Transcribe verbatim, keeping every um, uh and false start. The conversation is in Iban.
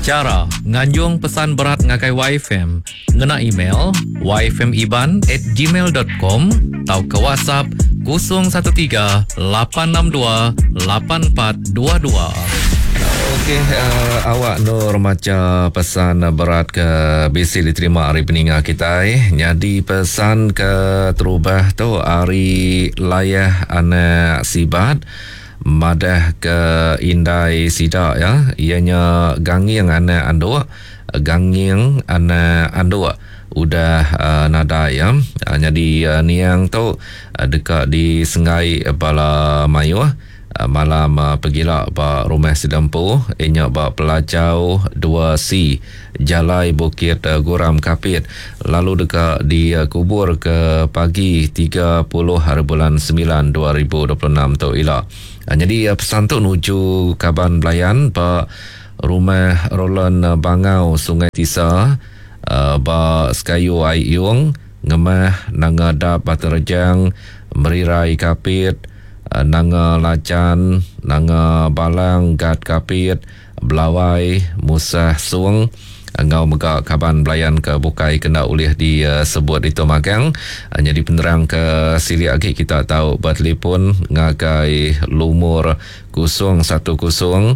Chara nganjung pesan berat ngagai Y F M ngena email yfmiban at gmail dot com tauka WhatsApp kosong satu tiga lapan enam dua lapan empat dua dua. Okey, uh, awak Nur maca pesan berat ke bisi diterima hari peninga kita. Jadi pesan ke terubah tu hari Layah anak Sibat madah ke indai sida ya, ianya Ganging anak Anduk, Ganging anak Anduk udah uh, nadai ya. Uh, jadi uh, niang tu uh, dekat di Sengai bala mayuh uh, malam uh, pegila ba rumah Sidempu inya ba Pelajau dua C, Jalai Bukit uh, Guram, Kapit, lalu dekat dikubur ke pagi tiga puluh hari bulan sembilan dua ribu dua puluh enam tu ila. Uh, jadi uh, pesan tu nuju kaban belayan ba rumah Roland Bangau, Sungai Tisa, uh, ba Sekayu Ayung Ngemah, Nanga Dap, Batu Rejang, Merirai Kapit, uh, Nanga Lajan, Nanga Balang Gat Kapit, Belawai, Musah Sung, engau mega kaban belayan ke bukai kena ulih disebut itu magang. uh, Jadi penerang ke sili lagi kita tahu bertelefon ngagai lumur kosong satu kosong